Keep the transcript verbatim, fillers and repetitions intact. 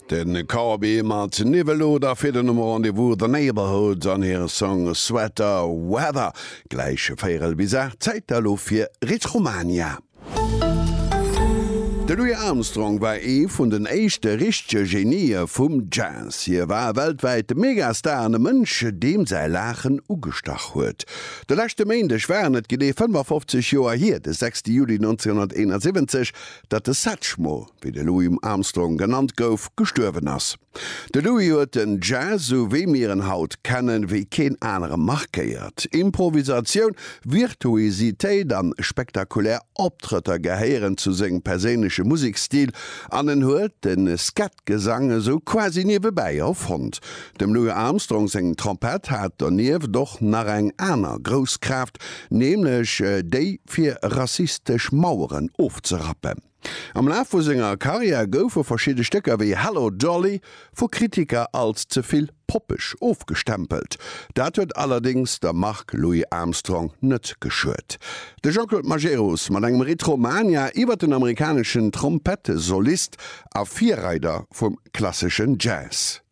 Den Corbi mat Niwweloder fir den Nummer Rendezvous The Neighbourhood an hire Song Sweater Weather. Gläich véierel bis aacht, Zäit da lo fir Retromania. De Louis Armstrong war ee vun den éischte richtege Genië vum Jazz. Hie war e weltwäite Megastar an e Mënsch, deem säi Laachen ugestach huet. De leschte Méindeg waren et genee fënnefafofzeg Joer hier, de sechste Juli nonzénhunnerteenasiwwenzeg, datt de Satchmo, wéi de Louis Armstrong genannt gouf, gestuerwen ass. De Louis huet den Jazz, sou wéi mir en haut kennen, wéi keen anere markéiert. Improvisatioun, Virtuositéit an spektakulär Optrëtter gehéieren zu sengem perséinleche Museksstil an en huet de Scat-Gesang esou quasi niewebäi erfonnt. Dem Louis Armstrong seng Trompett hat donieft och nach eng aner grouss Kraaft, nämlech déi fir rassistesch Maueren ofzerappen. Am Laf vu senger Karriär goufe verschidde Stécker wéi Hello Dolly vu Kritiker als ze vill poppeg ofgestempelt. Dat huet allerdéngs der Mark Louis Armstrong net geschuet. De Jean-Claude Majerus mat engem Retromania iwwer den amerikaneschen Trompettesolist a Virreider vum klasseschen Jazz.